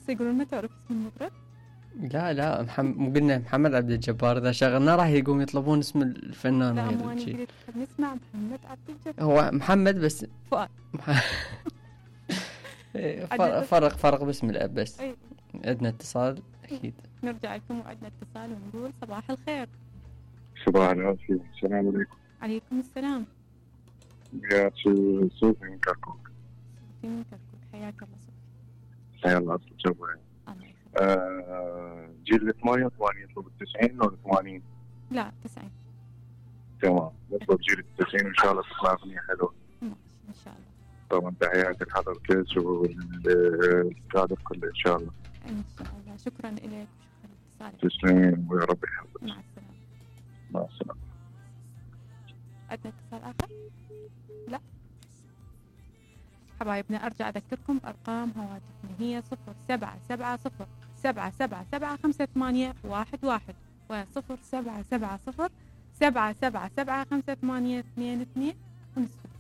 هسه يقولون ما تعرف اسم المطرب؟ لا مو قلنا محمد عبد الجبار، اذا شغلنا راح يقوم يطلبون اسم الفنان. لا مو انا قلت نسمع محمد عبد الجبار. هو محمد بس فؤاد. فرق باسم الاب بس. عندنا اتصال اكيد. نرجع لكم وعندنا اتصال ونقول صباح الخير. صباح العافية. السلام عليكم. عليكم السلام. يا صوفي من كركوك. صوفي من كركوك، حياك الله صوفي. حيا الله. أصل جوي. جيل 88 يطلب 90 ولا 80؟ لا 90. تمام، نطلب جيل 90 وإن شاء الله تطلع أغنية حلوة. ماشي إن شاء الله. طبعا تحياتي لحضرتك والكادر كله إن شاء الله. إن شاء الله. شكرا لك وشكرا لاتصالك. تسلمين ويا رب يحفظك. مع السلامة. مع السلامة. عندنا اتصال آخر؟ لا. حبايبنا أرجع أذكركم بأرقام هواتفنا هي 0770-777-5811 و0770-777-5822 ونستفيد.